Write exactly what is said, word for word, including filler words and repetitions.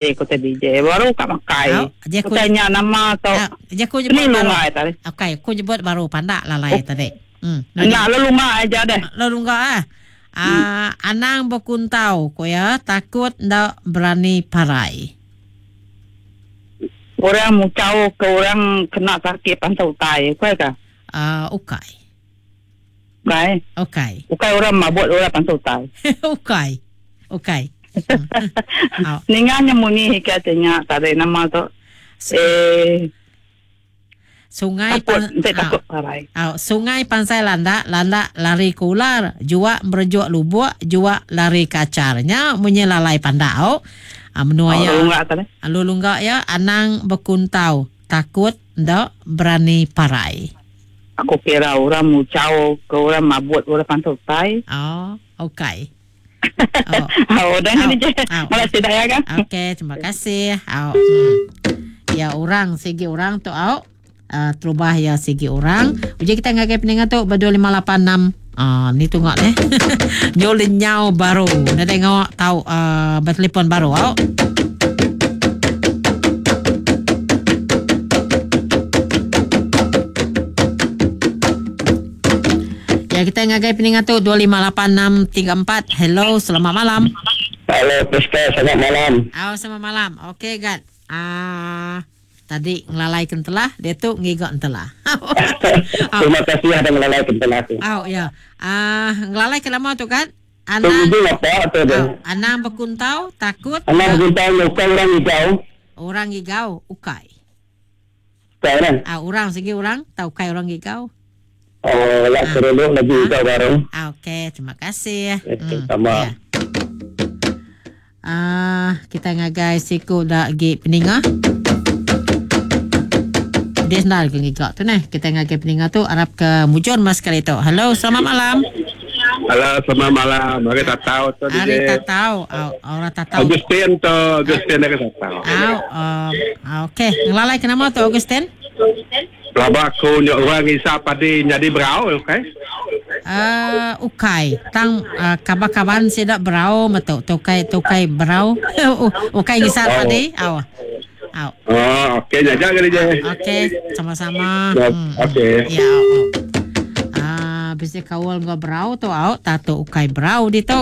Ko te D J baru kak makai. Aku tanya nama tu. Je aku nyebut baru. Okey, aku nyebut baru pandak lalai tadi. Hmm. Nak lelunga aja deh. Lelunga ah. Ah, anang berkuntau ko ya, takut ndak berani parai. Orang mucau ke orang kena sakit pantau utai, ukai ka? Ah, uh, ukai. Ukai. Ukai. Ukai orang mabuk orang pantau utai. Ukai. Ukai. Oh. Ninganya munyi katanya tadi nama tu eh sungai takut, pan, takut parai. Oh, sungai pansai landak, landak lari ke ular, juak merejuk lubuk, juak lari kacarnya munyi lalai pandak oh. Ah menua oh, ya. Lulunggak ya anang berkuntau, takut ndak berani parai. Aku kira orang mucau ke orang mabuk orang pantau tai. Oh, okey. Oh, oh dah ni je. Malah tidak ya kan? Okey, terima kasih. Oh. Hmm. Ya orang segi orang tu au. Uh, terubah ya segi orang. Uji kita ngagai peningat tu berdua lima lapan enam. Ah, ni tunggu ni. Nyol nyau baru. Nak tengok tahu uh, bertelefon baru au. Ya, kita ngagai peningat tu dua lima lapan enam tiga empat. Hello, selamat malam. Halo, Prisca, selamat malam. Oh, selamat malam. Okey, Gad. Ah, tadi ngelalai kentelah, dia tu ngigak entelah. Terima kasih ada ngelalai kentelah tu. Oh, ya. Ah, ngelalai ke lama tu kan? Anang apa tu dia? Oh, anang berkuntau, takut. Anang berkuntau, bukan orang ngigau. Orang ngigau, ukai. Ukai kan? Ah, orang segi orang, tahu kai orang ngigau. Oh, lah terlalu lagi ah. baru. Ah, okey, terima kasih. Hmm, sama. Ya. Ah, kita ngagai siku dak gi peninga. Dia senal ke ngigak tu neh. Kita ngagai peninga tu arap ke mujur mas kali tu. Halo, selamat malam. Halo, selamat malam. Hari tak tahu tu dia. Hari tak tahu. Oh, orang tak tahu. Augustin tu, Augustin aku tak tahu. Oh, um, okey. Ngelalai ke nama tu Augustin? Laba aku nyok orang isap padi jadi berau, okey? Uh, ukai. Tang uh, kabar-kabar sidak berau metu. Tukai tukai berau. Ukai ngisap padi. Aw. Aw. Oh, okey jaja kali je. Okey, sama-sama. Hmm. Okey. Ya, oh. Ah, bisa kawal ngau berau tu au, tato ukai berau di tu.